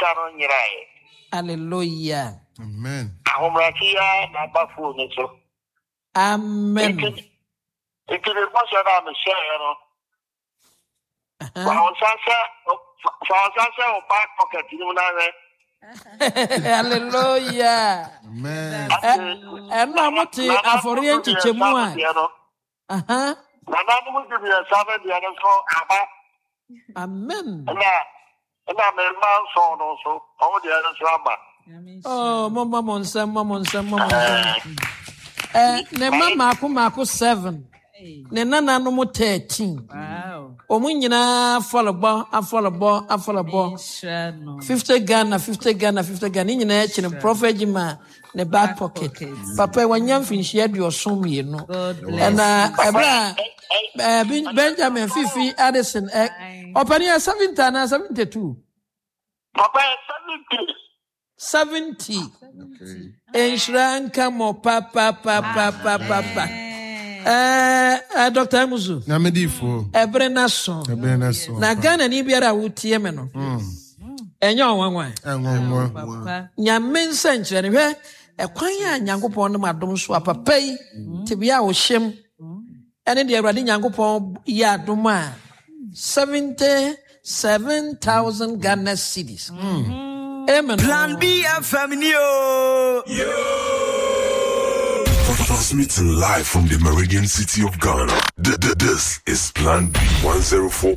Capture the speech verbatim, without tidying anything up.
Sika no nyeraeɛ. Hallelujah. Amen. Ahobrɛase yi ara na aba phone no so. Amen. Nti nti me bɔhyɛ no a mehyɛeɛ no, Aha. fa wo nsa hyɛ fa fa wo nsa hyɛ wo back pocket no mu na hwɛ. Hallelujah. Amen. Ɛ- ɛno a mote afɔreɛ nkyekyɛmu a deɛ no, aha. Nananom du mmiɛnsa no deɛ no nso aba. Amen. Ɛna ɛna me mma nson no nso, wɔn deɛ no nso aba. Oh, momma mo nsɛm, mo mo nsɛm, mo mo nsɛm. Ɛ, ne mma mmaako mmaako seven, ne nananom thirteen. Wow. Wɔn nyinaa afɔrebɔ, afɔrebɔ, afɔrebɔ. Nhyira no. Fifty Ghana, fifty Ghana, fifty Ghana. Ne nyinaa akyi no, Prophet Jima ne back pocket. Pocket. Papa yi, wanya mfinhyia aduɔson mmienu. God bless Ɛna you. ɛberɛ a ɛɛ, Ben- Benjamin Fifi Addison ɛ, ɔpanin yɛ seventy anaa seventy two? Papa yɛ seventy. Seventy. Okay. Nhyira nka mo papapapapapa. Ɛɛ ɛ, Doctor Amuzu. Nyamedifoɔ. Ɛberɛ no so. Ɛbɛn na so. Na Ghana ni biara a wotie me no, ɛnyɛ ɔnwanwa. Ɛnwanwa. Papa. Nyame nsɛnkyerɛnne, hwɛ ɛkwan a Nyankopɔn nom adom so a papa yi tebea a ɔhyɛm ɛne deɛ Awurade Nyankopɔn yɛ adom a seventy-seven thousand Ghana cedis. Amen. Plan B F M ni o. Transmitting live from the Meridian City of Ghana. Th- th- This is Plan B one zero four.